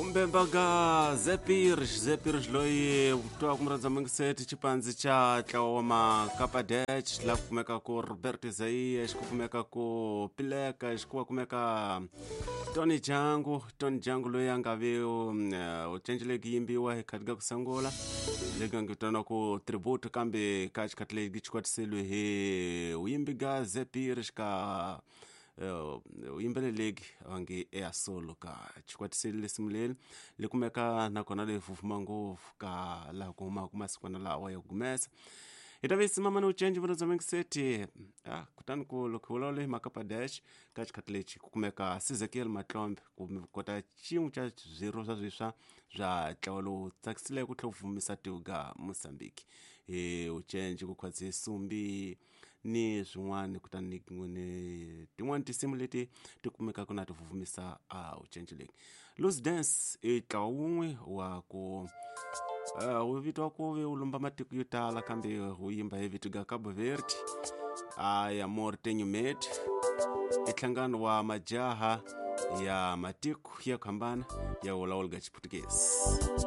Umbembaga Zephyrs, Zephyrs loyi twa ku murhandza mungiseti xipandzi xa ntlawa wa Makapadech laha ku kumeka ku Robert Isaiah xi ku kumeka ku Pileka xi ku kumeka Tony Jangu. Tony Jangu loyi a nga vi u cencile ku yimbiwa hi khati ka ku sungula leyi nga vitaniwa ku tribute, kambe ka xikhathi lexi xi hi vuyimbi ga Zephyrs ka vuyimbeleleki va nge eya solo ka xikwatiseli lesimu leri li kumeka nakona leyi fufuma ngopfu ka laha ku humaka masikwana lawa ya ku gumesa. Hi ta visi mama ni ucenji vona bya mingiseti. Kutani ku loko hi vulavula hi Makapa Dash ka xikhathi lexi ku kumeka Sizekiel Matlombe ku kota xin'we xa swirho swa swiswa bya ntlawa lowu tsakisile ku tlhela ku vumisa tiko ga Mozambique hi ucenji ku khwatsi sumbi ni swin'wana, kutani ni tin'wani tinsimu leti ti kumekaka na ti vuvumisa a ucenji leyi. Loose Dance i ntlawa wun'we wa ku wu vitiwa ku ve wu lumba matiko yo tala, kambe wu yimba hi vito ga Cabo Verde. A ya Amor Tenho Medo i nhlangano wa majaha ya matiko ya ku hambana ya vulavula ga Xiputukezi.